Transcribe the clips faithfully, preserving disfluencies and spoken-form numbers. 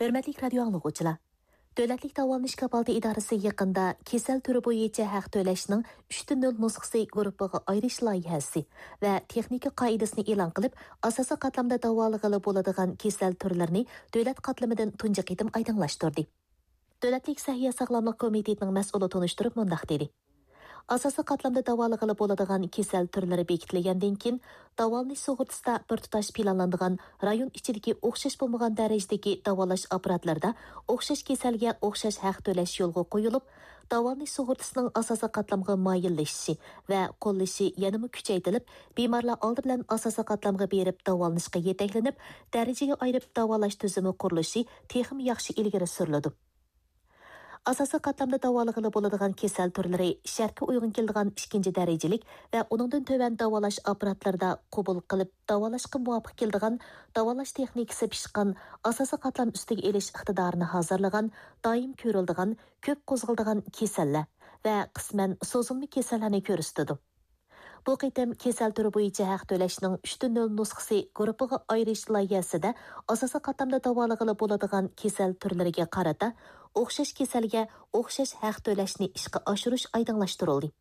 ھۆرمەتلىك رادىيو ئاڭلىغۇچىلار! دۆلەتلىك داۋالىنىش كاپالىتى ئىدارىسى يېقىندا كېسەل تۈرى بويىچە ھەق تۆلەشنىڭ ئۈچتىن نۆل نۇسخىسى گۇرۇپپىغا ئايرىش لايىھەسى ۋە تېخنىكا قائىدىسىنى ئېلان قىلىپ، ئاساسىي قاتلامدا داۋالىغىلى بولىدىغان كېسەل تۈرلىرىنى دۆلەت قاتلىمىدىن تۇنجى قېتىم ئايدىڭلاشتۇردى. دۆلەتلىك سەھىيە ساغلاملىق كومىتېتىنىڭ مەسئۇلى تونۇشتۇرۇپ مۇنداق دېدى: ئاساسىي قاتلامدا داۋالىغىلى بولىدىغان كېسەل تۈرلىرى بېكىتىلگەندىن كېيىن، داۋالىنىش سۇغۇرتىسىدا بىر تۇتاش پىلانلانغان رايون ئىچىدىكى ئوخشاش بولمىغان دەرىجىدىكى داۋالاش ئاپپاراتلىرىدا ئوخشاش كېسەلگە ئوخشاش ھەق تۆلەش يولغا قويۇلۇپ، داۋالىنىش سۇغۇرتىسىنىڭ ئاساسىي قاتلامغا مايىللىشىشى ۋە قوللىشى يەنىمۇ كۈچەيتىلىپ، بىمارلار ئالدى بىلەن ئاساسىي قاتلامغا بېرىپ داۋالىنىشقا يېتەكلىنىپ، دەرىجىگە ئايرىپ داۋالاش تۈزۈمى قۇرۇلۇشى تېخىمۇ ياخشى ئىلگىرى سۈرۈلىدۇ. ئاساسىي قاتلامدا داۋالىغىلى بولىدىغان كېسەل تۈرلىرى شەرتكە ئۇيغۇن كېلىدىغان ئىككىنچى دەرىجىلىك ۋە ئۇنىڭدىن تۆۋەن داۋالاش ئاپپاراتلىرىدا قوبۇل قىلىپ داۋالاشقا مۇۋاپىق كېلىدىغان داۋالاش تېخنىكىسى پىشقان، ئاساسىي قاتلام ئۈستىگە ئېلىش ئىقتىدارىنى ھازىرلىغان، دائىم كۆرۈلىدىغان، كۆپ قوزغىلىدىغان كېسەللەر ۋە قىسمەن سوزۇلما كېسەللەرنى كۆرسىتىدۇ. بۇ قېتىم كېسەل تۈرى بويىچە ھەق تۆلەشنىڭ ئۈچتىن نۆل نۇسخىسى گۇرۇپپىغا ئايرىش لايىھەسىدە ئاساسىي قاتلامدا داۋالىغىلى بولىدىغان كېسەل تۈرلىرىگە قارىتا ئوخشاش كېسەلگە ئوخشاش ھەق تۆلەشنى ئىشقا ئاشۇرۇش ئايدىڭلاشتۇرۇلدى.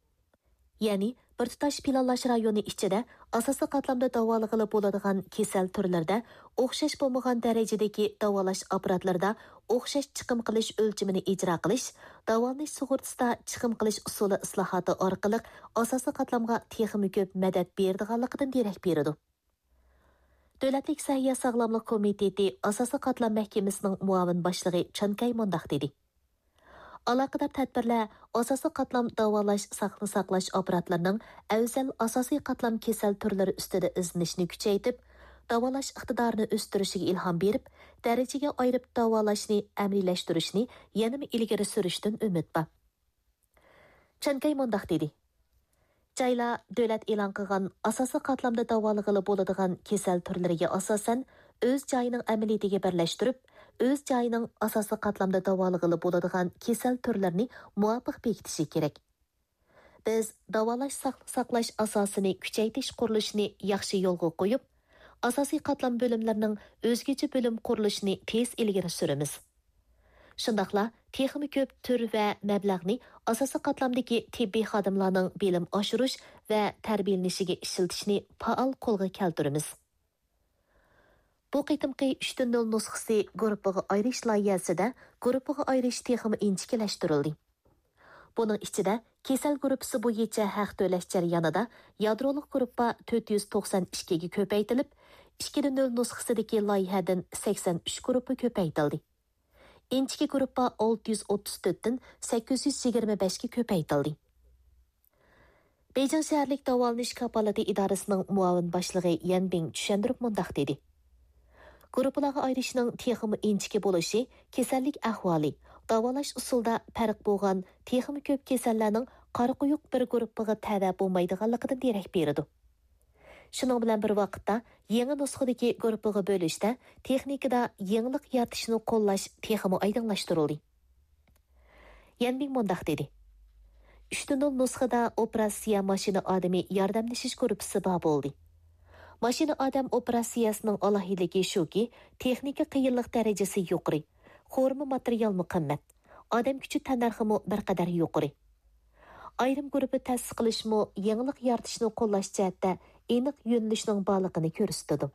يەنى، بىر تۇتاش پىلانلاش رايونى ئىچىدە ئاساسىي قاتلامدا داۋالىغىلى بولىدىغان كېسەل تۈرلىرىدە ئوخشاش بولمىغان دەرىجىدىكى داۋالاش ئاپپاراتلىرىدا ئوخشاش چىقىم قىلىش ئۆلچىمىنى ئىجرا قىلىش، داۋالىنىش سۇغۇرتىسىدا چىقىم قىلىش ئۇسۇلى ئىسلاھاتى ئارقىلىق ئاساسىي قاتلامغا تېخىمۇ كۆپ مەدەت بېرىدىغانلىقىدىن دېرەك بېرىدۇ. دۆلەتلىك سەھىيە ساغلاملىق كومىتېتى ئاساسىي قاتلام مەھكىمىسىنىڭ مۇئاۋىن باشلىقى چان كەي مۇنداق دېدى: ئالاقىدار تەدبىرلەر ئاساسىي قاتلام داۋالاش، ساقنى ساقلاش ئاپپاراتلىرىنىڭ ئەۋزەل ئاساسىي قاتلام كېسەل تۈرلىرى ئۈستىدە ئىزدىنىشنى كۈچەيتىپ، داۋالاش ئىقتىدارىنى ئۆستۈرۈشىگە ئىلھام بېرىپ، دەرىجىگە ئايرىپ داۋالاشنى ئەمەلىيلەشتۈرۈشنى يەنىمۇ ئىلگىرى سۈرۈشتىن ئۈمىد بار. چان كەي مۇنداق دېدى: جايلار دۆلەت ئېلان قىلغان ئاساسىي قاتلامدا داۋالىغىلى بولىدىغان كېسەل تۈرلىرىگە ئاساسەن، ئۆز جايىنىڭ ئەمەلىيىتىگە بىرلەشتۈرۈپ، ئۆز جايىنىڭ ئاساسىي قاتلامدا داۋالىغىلى بولىدىغان كېسەل تۈرلىرىنى مۇۋاپىق بېكىتىشى كېرەك. بىز داۋالاش ساقنى ساقلاش ئاساسىنى كۈچەيتىش قۇرۇلۇشىنى ياخشى يولغا قويۇپ، ئاساسىي قاتلام بۆلۈملىرىنىڭ ئۆزگىچە بۆلۈم قۇرۇلۇشىنى تېز ئىلگىرى سۈرىمىز. شۇنداقلا تېخىمۇ كۆپ تۈر ۋە مەبلەغنى ئاساسىي قاتلامدىكى تېببىي خادىملارنىڭ بىلىم ئاشۇرۇش ۋە تەربىيەلىنىشىگە ئىشلىتىشنى پائال قولغا كەلتۈرىمىز. بۇ قېتىمقى ئۈچتىن نۆل نۇسخىسى گۇرۇپپىغا ئايرىش لايىھەسىدە گۇرۇپپىغا ئايرىش تېخىمۇ ئىنچىكىلەشتۈرۈلدى. بۇنىڭ ئىچىدە كېسەل گۇرۇپپىسى بويىچە ھەق تۆلەش جەريانىدا يادرولۇق گۇرۇپپا تۆت يۈز توقسان ئىككىگە كۆپەيتىلىپ، ئىككىدە نۆل نۇسخىسىدىكى لايىھەدىن سەكسەن ئۈچ گۇرۇپپا كۆپەيتىلدى. ئىنچىكە گۇرۇپپا ئالتە يۈز ئوتتۇز تۆتتىن سەككىز يۈز يىگىرمە بەشكە كۆپەيتىلدى. بېيجىڭ شەھەرلىك داۋالىنىش كاپالىتى ئىدارىسىنىڭ مۇئاۋىن باشلىقى يەن بىڭ چۈشەندۈرۈپ مۇنداق دېدى: گۇرۇپپىلارغا ئايرىشنىڭ تېخىمۇ ئىنچىكە بولۇشى كېسەللىك ئەھۋالى، داۋالاش ئۇسۇلىدا پەرق بولغان تېخىمۇ كۆپ كېسەللەرنىڭ قارا قويۇق بىر گۇرۇپپىغا تەۋە بولمايدىغانلىقىدىن دېرەك بېرىدۇ. شۇنىڭ بىلەن بىر ۋاقىتتا، يېڭى نۇسخىدىكى گۇرۇپپىغا بۆلۈشتە تېخنىكىدا يېڭىلىق يارىتىشنى قوللاش تېخىمۇ ئايدىڭلاشتۇرۇلدى. يەن بىڭ مۇنداق دېدى: ئۈچتىن نول نۇسخىدا ئوپېراتسىيە ماشىنا ئادىمى ياردەملىشىش گۇرۇپپىسى بار بولدى. ماشىنا ئادەم ئوپېراتسىيەسىنىڭ ئالاھىدىلىكى شۇكى، تېخنىكا قىيىنلىق دەرىجىسى يۇقىرى، قورۇما ماتېرىيالمۇ قىممەت، ئادەم كۈچى تەننەرخىمۇ بىر قەدەر يۇقىرى. ئايرىم گۇرۇپپا تەسىس قىلىشمۇ يېڭىلىق يارىتىشنى قوللاش جەھەتتە ئېنىق يۆنىلىشنىڭ بارلىقىنى كۆرسىتىدۇ.